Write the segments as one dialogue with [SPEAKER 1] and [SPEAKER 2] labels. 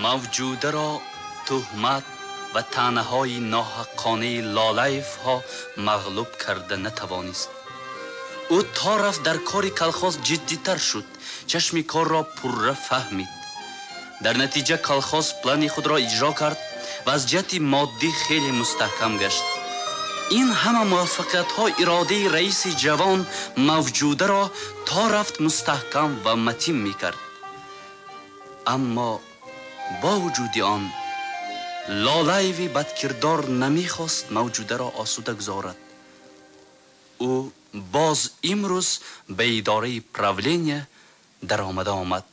[SPEAKER 1] Мавҷударо туҳмат ва таънаҳои ноҳаққонаи Лолаевҳо мағлуб карда натавонист. Ӯ то рафт дар кори колхоз ҷиддитар шуд, чашми корро пурра фаҳмид. Дар натиҷа колхоз плани худро иҷро кард ва аз ҷиҳати моддӣ хеле мустаҳкам гашт. Ин ҳама муваффақиятҳо иродаи раиси ҷавон Мавҷударо то рафт мустаҳкам ва матин мекард. Аммо бо вуҷуди он Лолаеви бадкирдор намехост Мавҷударо осуда гузорад. Ӯ боз имрӯз ба идораи правления даромада омад.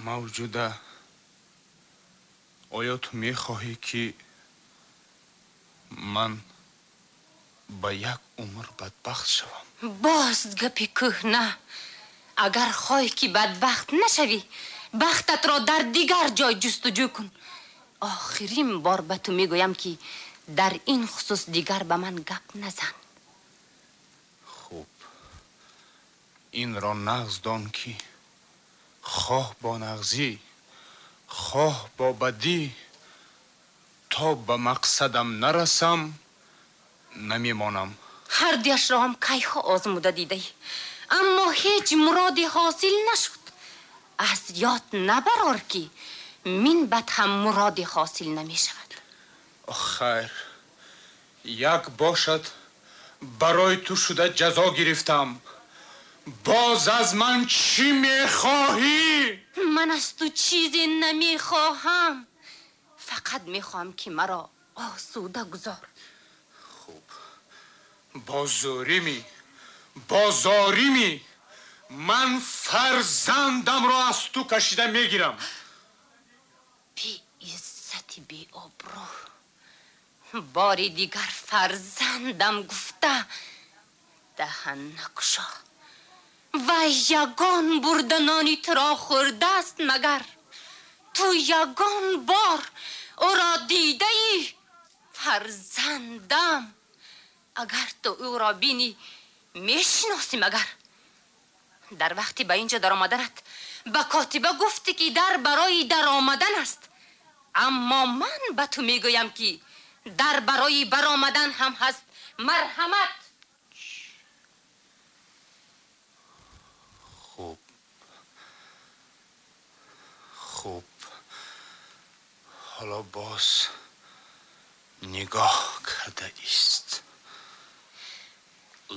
[SPEAKER 2] Мавҷуда, оё ту мехоҳӣ, ки ман ба як умр бадбахт шавам?
[SPEAKER 3] Боз гапи кӯҳна. Агар хоҳӣ, ки бадбахт нашавӣ, бахтатро дар дигар ҷой ҷустуҷӯ кун. Охирин бор ба ту мегӯям, ки дар ин хусус дигар ба ман гап назан.
[SPEAKER 2] Хуб, инро нағз дон, ки хоҳ бо нағзӣ, хоҳ бо бадӣ, то ба мақсадам нарасам, намемонам.
[SPEAKER 3] Ҳар дуяшро ҳам кайҳо озмуда дидаӣ, аммо ҳеҷ муроде ҳосил нашуд. Аз ёд набарор, ки минбаъд ҳам муроде ҳосил намешавад.
[SPEAKER 2] Хайр, як бошад, барои ту шуда ҷазо гирифтам. Боз аз ман чӣ мехоҳӣ?
[SPEAKER 3] Ман аз ту чизе намехоҳам. Фақат мехоҳам, ки маро осуда гузор.
[SPEAKER 2] Хуб, бо зӯримӣ, бо зоримӣ ман фарзандамро аз ту кашида мегирам.
[SPEAKER 3] Беиззати беобрӯ, бори дигар фарзандам гуфта даҳан накушо. Вай ягон бурда нони туро хӯрдааст магар? Ту ягон бор ӯро дидаӣ? Фарзандам, агар ту ӯро бинӣ, мешиносӣ магар? Дар вақти ба инҷо даромаданат ба котиба гуфтӣ, ки дар барои даромадан аст, аммо ман ба ту мегӯям, ки дар барои баромадан ҳам ҳаст. Марҳамат.
[SPEAKER 2] Хуб, хуб, ҳоло боз нигоҳ карда ист.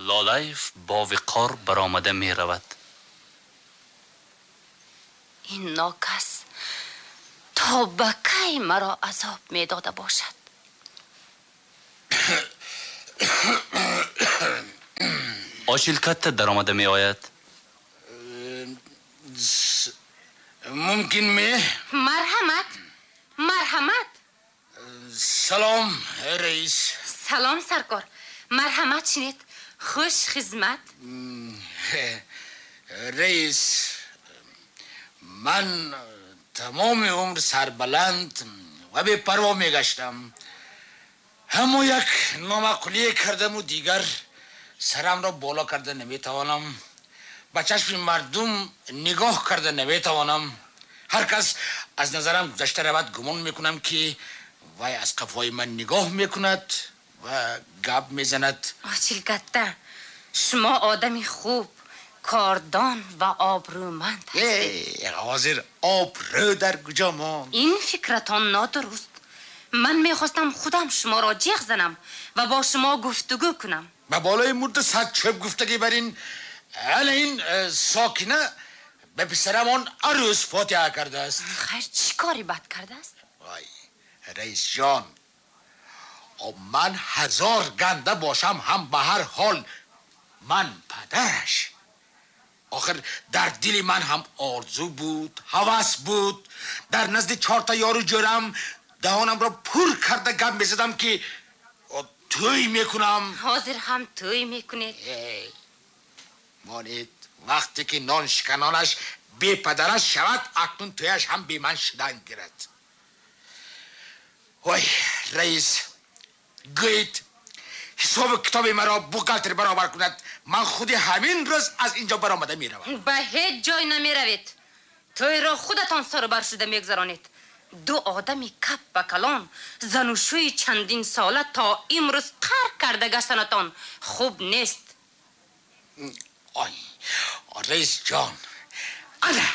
[SPEAKER 1] Лолаев бо виқор баромада меравад.
[SPEAKER 3] Ин нокас то ба кай маро азоб медода бошад?
[SPEAKER 1] Очилкатта даромада меояд.
[SPEAKER 4] Мумкин ме?
[SPEAKER 3] Марҳамат, марҳамат.
[SPEAKER 4] Салом, раис.
[SPEAKER 3] Салом, саркор. Марҳамат, шинед. Хуш хизмат.
[SPEAKER 4] Раис, ман тамоми умр сарбаланд ва бепарво мегаштам. Аммо як номаъқулие кардаму дигар сарамро боло карда наметавонам. Ба чашми мардум нигоҳ карда наметавонам. Ҳар кас аз назарам гузашта равад, гумон мекунам, ки вай аз қафои ман нигоҳ мекунад ва гап мезанад.
[SPEAKER 3] Очилкатта, шумо одами хуб, кордон ва обрӯманд ҳастед.
[SPEAKER 4] Ҳозир обрӯ дар куҷо монд?
[SPEAKER 3] Ин фикратон нодуруст. Ман мехостам худам шуморо ҷеғ занам ва бо шумо гуфтугӯ кунам.
[SPEAKER 4] Ба болои мурда сад чӯб гуфтагӣ бар ин ана ин сокина ба писарамон арӯс фотиҳа кардааст.
[SPEAKER 3] Хайр, чӣ кори бад кардааст?
[SPEAKER 4] Вай, раисҷон, ман ҳазор ганда бошам ҳам ба ҳар ҳол ман падараш. Охир дар дили ман ҳам орзу буд, ҳавас буд. Дар назди чорта ёру ҷӯрам даҳонамро пур карда гап мезадам, ки тӯй мекунам.
[SPEAKER 3] Ҳозир ҳам тӯй мекунед?
[SPEAKER 4] Монед, вақте ки нон шиканонаш бепадараш шавад, акнун тӯяш ҳам бе ман шудан гирад. Ой, раис, гӯед, ҳисобу китоби маро бухгалтер баробар кунад. Ман худи ҳамин рӯз аз ин ҷо баромада меравам.
[SPEAKER 3] Ба ҳеҷ ҷой намеравед. Тӯйро худатон сарубар шуда мегузаронед. Ду одами кап ба калон, занушӯи чандин сола то имрӯз қар карда гаштанатон хуб нест.
[SPEAKER 4] Ой, раис ҷон, ана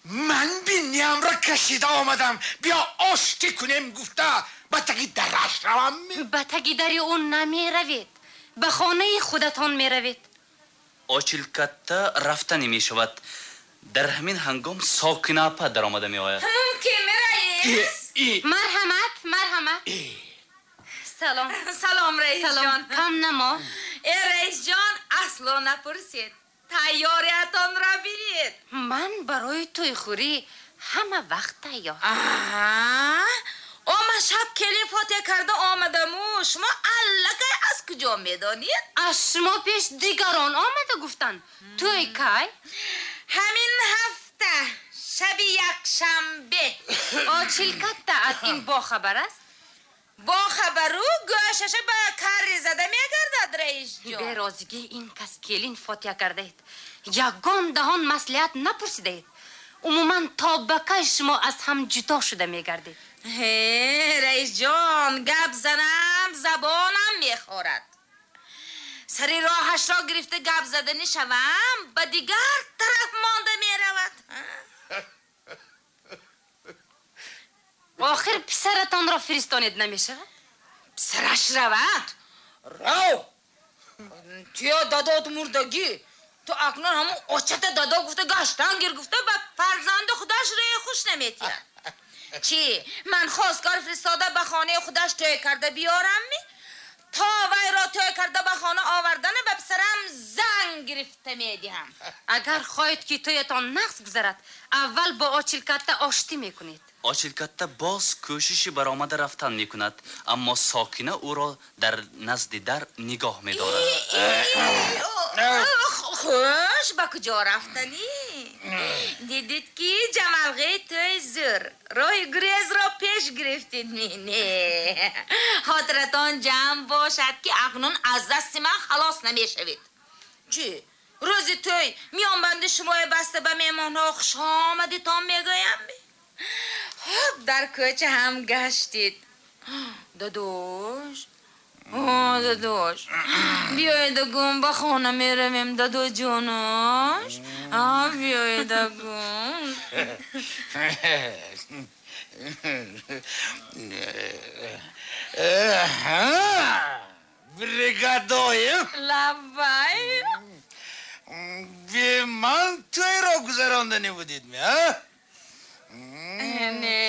[SPEAKER 4] ман биниямро кашида омадам. Биё оштӣ кунем гуфта ба таги дараш равам.
[SPEAKER 3] Ба таги дари ӯ намеравед, ба хонаи худатон меравед.
[SPEAKER 1] Очилкатта рафта намешавад. Дар ҳамин ҳангом Сокина апа даромада меояд.
[SPEAKER 5] Мумкин раис?
[SPEAKER 3] Марҳамат, марҳамат. Салом.
[SPEAKER 5] Салом, раис ҷон.
[SPEAKER 3] Кам намо.
[SPEAKER 5] Э, раис ҷон, асло напурсед. Тайёриятонро бинед.
[SPEAKER 3] Ман барои тӯйхӯрӣ ҳама вақт тайёр.
[SPEAKER 5] Аҳа, ман шаб келин фотиҳа карда омадаму шумо аллакай аз куҷо медонед?
[SPEAKER 3] Аз шумо пеш дигарон омада гуфтанд. Тӯй кай?
[SPEAKER 5] Ҳамин ҳафта, шаби якшанбе.
[SPEAKER 3] Очилкатта аз ин бохабар аст?
[SPEAKER 5] Бохабару гӯшаша ба карри зада мегардад, раис ҷон.
[SPEAKER 3] Берозигии ин кас келин фотиҳа кардаед. Ягон даҳон маслиҳат напурсидаед. Умуман то ба кай шумо аз ҳам ҷудо шуда мегардед?
[SPEAKER 5] Ҳе, раис ҷон, гап занам забонам мехорад. Сари роҳашро гирифта гап заданӣ шавам, ба дигар тараф монда меравад.
[SPEAKER 3] Охир писаратонро фиристонед намешавад?
[SPEAKER 5] Писараш равад? Рав! Туя дадот мурдагӣ. Ту акнун ҳамун очата дадо гуфта гаштан гир гуфта ба фарзанди худаш рӯи хуш наметиҳад. Чӣ? Ман хостгор фиристода ба хонаи худаш тӯй карда биёрам ми? То вайро тӯй карда ба хона овардана ба писарам занг гирифта медиҳам.
[SPEAKER 3] Агар хоҳед ки тӯятон нақс гузарад, аввал бо Очилкатта оштӣ мекунед.
[SPEAKER 1] Очилкатта боз кӯшиши баромада рафтан мекунад, аммо Сокина ӯро дар назди дар нигоҳ медорад.
[SPEAKER 5] Хуш, ба куҷо рафтанӣ? Дидед ки ҷамалғи тӯй зӯр. Роҳи гурезро пеш гирифтед. Не, хотиратон ҷамъ бошад ки акнун аз дасти ман халос намешавед. Чӣ? Рӯзи тӯй миёнбанди шумои баста ба меҳмонҳо хуш омадитон мегӯям. Хуб, дар кӯча ҳам гаштед. Дадош, дадош, биёед гум ба хона меравем, дадоҷонош. Биёед гум.
[SPEAKER 4] Бригадоем.
[SPEAKER 5] Лаббай.
[SPEAKER 4] Бе ман тӯйро гузаронда набудед ми, а?
[SPEAKER 5] Не.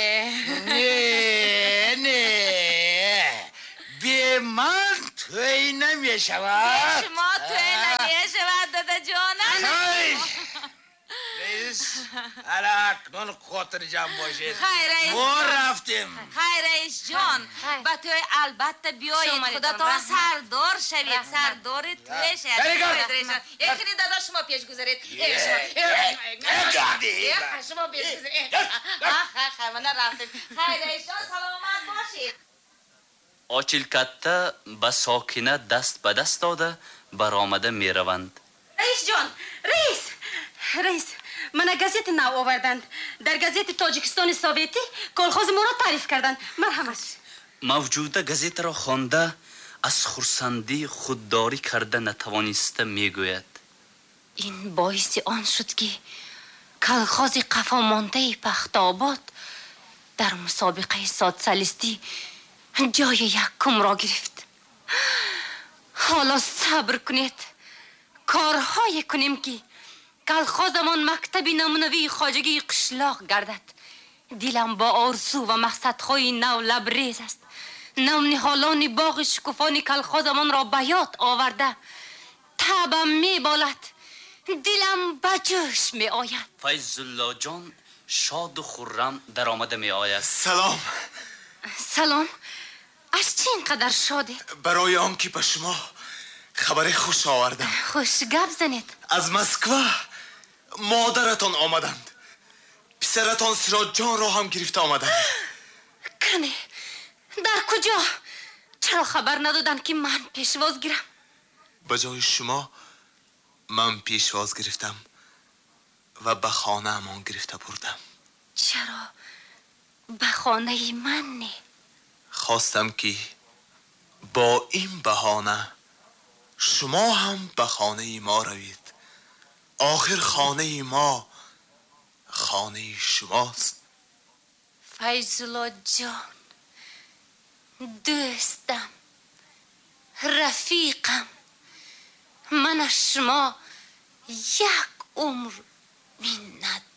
[SPEAKER 4] Не, не. Бе ман тӯй намешавад.
[SPEAKER 5] Бе шумо тӯй намешавад, дадаҷонам.
[SPEAKER 4] Раис, ала акнун хотирҷамъ бошед.
[SPEAKER 5] Хайр, раис.
[SPEAKER 4] Мо рафтем.
[SPEAKER 5] Хайр, раис ҷон, ба тӯй албатта биёед. Худатон сардор шавед, сардори тӯй шавед. Эхини дада, шумо пеш гузаред. Шумо пеш гузаред. Мана рафтем. Хайр, раис ҷон, саломат бошед.
[SPEAKER 1] Очилкатта ба Сокина даст ба даст дода баромада мераванд.
[SPEAKER 3] Раис ҷон, раис, раис, мана газети нав оварданд. Дар газети Тоҷикистони Советӣ колхози моро таъриф карданд. Марҳамат.
[SPEAKER 1] Мавҷуда газетаро хонда аз хурсандӣ худдорӣ карда натавониста мегӯяд. Ин боиси он шуд ки колхози қафомондаи Пахтобод дар мусобиқаи социалистӣ ҷои якумро гирифт. Ҳоло сабр кунед, корҳое кунем ки колхозамон мактаби намунавии хоҷагии қишлоқ гардад. Дилам бо орзу ва мақсадҳои нав лабрез аст. Навниҳолони боғи шукуфони колхозамонро ба ёд оварда табам меболад, дилам ба ҷӯш меояд. Файзуллоҷон шоду хуррам даромада меояд.
[SPEAKER 6] Салом.
[SPEAKER 3] Салом. Аз чӣ ин қадар шодед?
[SPEAKER 6] Барои он ки ба шумо хабари хуш овардам.
[SPEAKER 3] Хуш, гап занед.
[SPEAKER 6] Аз Москва модаратон омаданд. Писаратон Сироҷҷонро ҳам гирифта омаданд.
[SPEAKER 3] Кане, дар куҷо? Чаро хабар надоданд ки ман пешвоз гирам?
[SPEAKER 6] Ба ҷои шумо ман пешвоз гирифтам. ва ба хонаамон гирифта бурдам.
[SPEAKER 3] Чаро ба хонаи ман не?
[SPEAKER 6] Хостам ки бо ин баҳона шумо ҳам ба хонаи мо равед. Охир хонаи мо хонаи шумост.
[SPEAKER 3] Файзулло ҷон, дӯстам, рафиқам, ман аз шумо як умр миннатдорам.